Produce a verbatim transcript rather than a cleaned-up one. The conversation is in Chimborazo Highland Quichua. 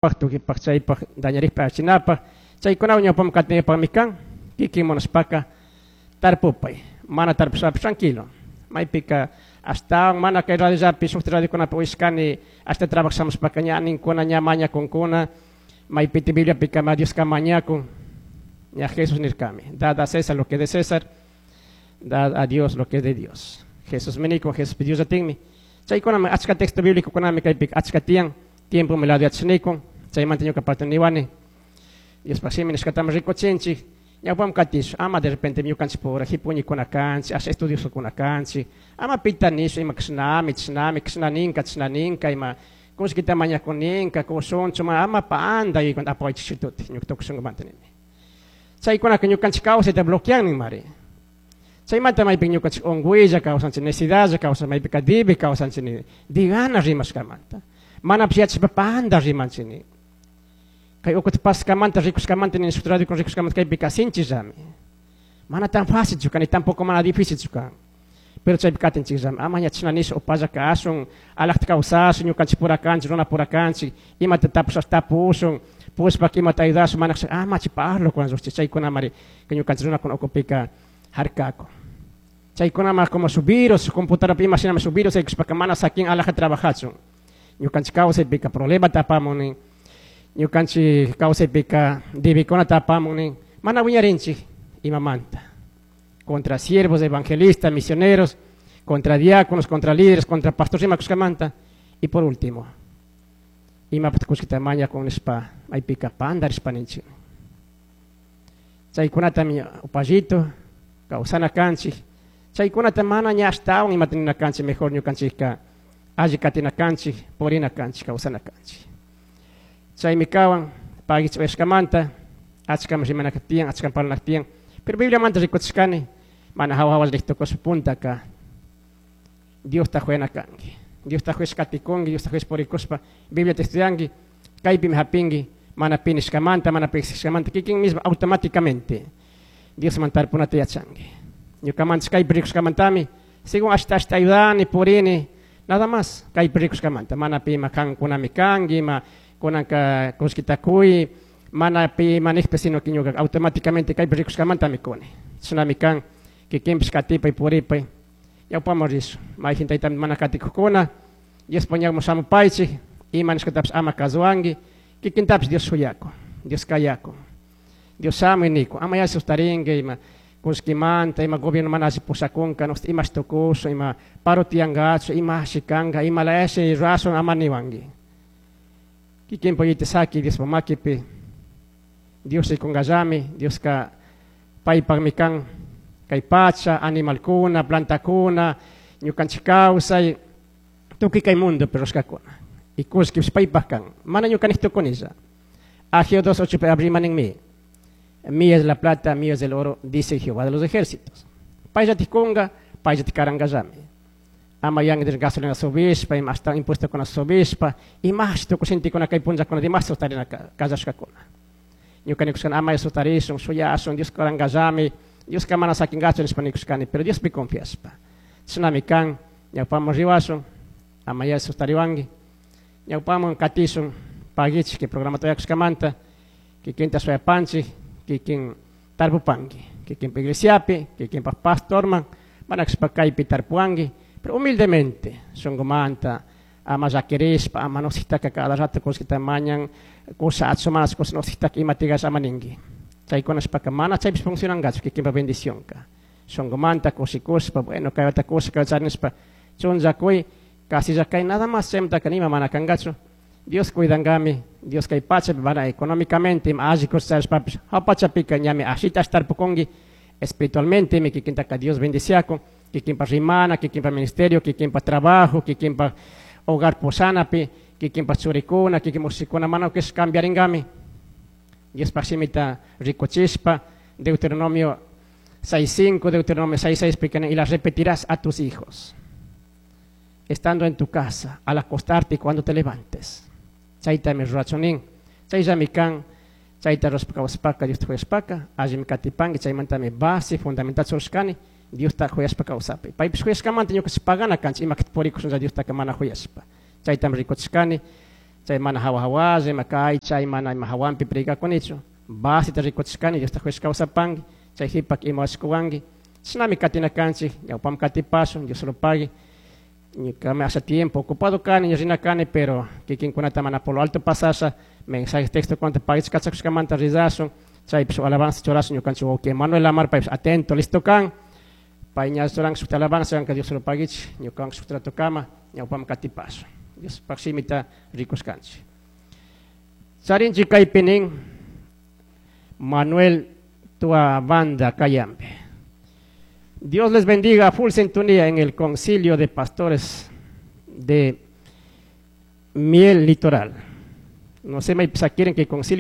Tukipaq chaypaq dañarikpa achinapaq chaykunawan ñawpaman katinapaqmi kan kikin munashpaka tarpupay mana tarpushpapish tranquilo maypika ashtawan mana kay radiollapi shukti radiokunapi uyashkani ashta trabajaq shamushpaka ña ninkuna ña mañakunkuna maypiti Bibliapika ma Dioska mañakun ña Jesús nirkami dad a César lo que es de César, dad a Dios lo que es de Dios. Jesús mi nikun, Jesús Dios atinmi chaykunami achka texto bíblico kunami kaypika achka tiyan tiempo mi lado yachanikun chaymanta ñuka parte niwani Diospaq shimi nishkatami rikuchinchik ñawpam katish ama de repente ñukanchik pura hipuñikuna kanchik asha estudiosokuna kanchik ama pita nisha ima kishnami chishnami kishna ninka chishna ninka ima kullkita mañakuninka kushunchu ma ama panda y apawaychik ñuka tukuy shunkumanta nini chaykunaka ñukanchik kawsayta bloquean ninmari chaymanta maypi ñukanchik unquylla kawsanchik necesidadlla kawsanchik maypika dibi kawsanchik nini digana rimashkamanta manapish yachashpa panda rimanchik nin kay ukuta paskamanta rikushkamanta nini shuk radio rikushkamanta kaypika sinchillami mana tan fácilchu kan tampoco mana difícilchu kan pero chaypi katinchikllami ama ña chashna nisha upalla kashun alajta kawsashun ñukanchik pura kanchik runa pura kanchik imata tapushash tapushun pushpak imata ayudashun mana ama chay parlokunan lluqchik chaykunamari ñukanchik runakuna ukupika harkakun chaykunama como su virus computadora ima shinami su virus yaykushpaka mana sakin alaja trabajachun ñukanchik kawsaypika problemata apamun nin ñukanchik kawsaypika debikunata apamun nin mana wiñarinchik imamanta contra siervos, evangelistas, misioneros, contra diáconos, contra líderes, contra pastores ima kushkamanta y por último imapaq kullkita mañakun nishpa maypika pandarishpa ninchik chaykunatami upallito kawsana kanchik chaykunata mana ña ashtawan imata nina kanchik mejor ñukanchikka alli katina kanchik purina kanchik kawsana kanchik chaymi kawan pagichik uyashkamanta achkami rimanaka tiyan achkami parlanaka tiyan pero Bibliamanta rikuchishkani mana hawa hawa riqtukushpa puntaka Diosta huyana kanki Diosta huyashpa katikunki Diosta huyashpa purikushpa Bibliata estudianki kaypimi hapinki mana pi nishkamanta mana pi exigishkamanta kikin mismo automáticamente Diosman tarpunata yachanki ñukamanchik kaypi rikushkamantami según ashta ashta ayudani purini nada más kaypi rikushkamanta mana pi ima kankunami kanki ima kunanka kullkita kuy mana pi ima nijpi sino que ñuka automáticamente kaypi rikushkamantami kuni chashnami kan kikinpish katipay puripay ñawpaman rishun mayjin taytami mana katikukuna Diospa ñawpaman shamupaychik ima nishkatapish ama kasuwanki kikintapish Dios shuyakun Dios kayakun Dios shamuy nikun ama yalli sustarinki ima kullkimanta ima gobierno mana alli pushakunka imashi tukushun ima paro tiyankachu imashi kanka ima layashi rurashun ama niwanki kikinpak yuyayta saki Diospa makipi Dios rikunkallami Dioska paypakmi kan kay pacha animalkuna plantakuna ñukanchik kawsay tukuy kay mundopi rurashkakuna y kullkipish paypak kan mana ñuka nik tukunilla Ageo dos ocho rimaninmi mía es la plata, mío es el oro, dice Jehová de los ejércitos. Payllatik kunga, payllatik karankallami. Ama yanki gasolina subishpa, ima ashtawan impuestokuna subishpa, imashi tukuy gentekuna kay punllakuna dimas sustarina kallashkakuna. Ñuka nikushkani ama sustarishun, shuyashun, Dios karankallami, Dioska mana sakinkachu nishpa nikushkani, pero Diospi confiashpa. Chashnami kan, ñawpaman riwashun, ama yalli sustariwanki, ñawpaman katishun, pagichik kay programata uyakushkamanta, kikinta shuyapanchik, kikin tarpupanki, kikinpa iglesiapi, kikinpa pastorman, mana kashpa kaypi tarpuwanki, pero humildemente, shunkumanta, ama llakirishpa, ama nositaka cada rato kullkita mañan, kushachu mana kush nositaka ima tigash ama ninki. Chaykunashpaka mana chaypish funcionankachu kikinpa bendicionka. Shunkumanta kushikushpa, bueno, kaywata kusha kayta nishpa, chunllakuy, kasilla kay nada más chaymantaka nima mana kankachu. Dios cuidankami, Dios kay pachapi mana económicamente ima alli kusharishpapish, hawa pachapika ñami ashita tarpukunki, espiritualmente mi kikintaka Dios bendiciakun, kikinpa rimana, kikinpa ministerio, kikinpa trabajo, kikinpa hogar pushanapi, kikinpa churikuna, kikinpa ushikuna mana kish cambiarinkami. Diospaj shimita rikuchishpa, Deuteronomio seis cinco, Deuteronomio seis seis, y las repetirás a tus hijos, estando en tu casa, al acostarte y cuando te levantes. Chaytami rurachunin, chayllami kan, chayta rurashpa kawsapaka, Diosta huyashpaka, allimi katipanki, chaymantami base fundamental churashkani, Diosta huyashpa kawsapi. Paypish huyashkamanta ñukanchik pagana kanchik, ima purikushunlla Diostaka mana huyashpa. Chaytami rikuchishkani, Chay mana hawa hawalla, ima kay chay mana ima hawanpi predicakunichu. Basita rikuchishkani, Diosta kuyashpa kawsapanki, chay hipak ima washkuwanki. Shinami katina kanchik, ñawpam katipashun, Dios lo pague. Ñukami hace tiempo ocupado kani, rina kani, pero kikinkunata mana por lo alto pasasha, mensaje texto kunata pagichik kachakushkamanta rizashun, chaypish alabanza churashun ñukanchik wawki Manuel Lamar paypish atento, listo kan. Pay ña churan shukta alabanza kanka Dios lo pagichik, ñukawan shuk rato kama, ñawpam katipashun. Diospaj shimita rikushkanchik. Charinchik kaypi nin Manuel Tua Banda Cayambe. Dios les bendiga full sintonía en el concilio de pastores de Miel Litoral. No sé, me quieren que el concilio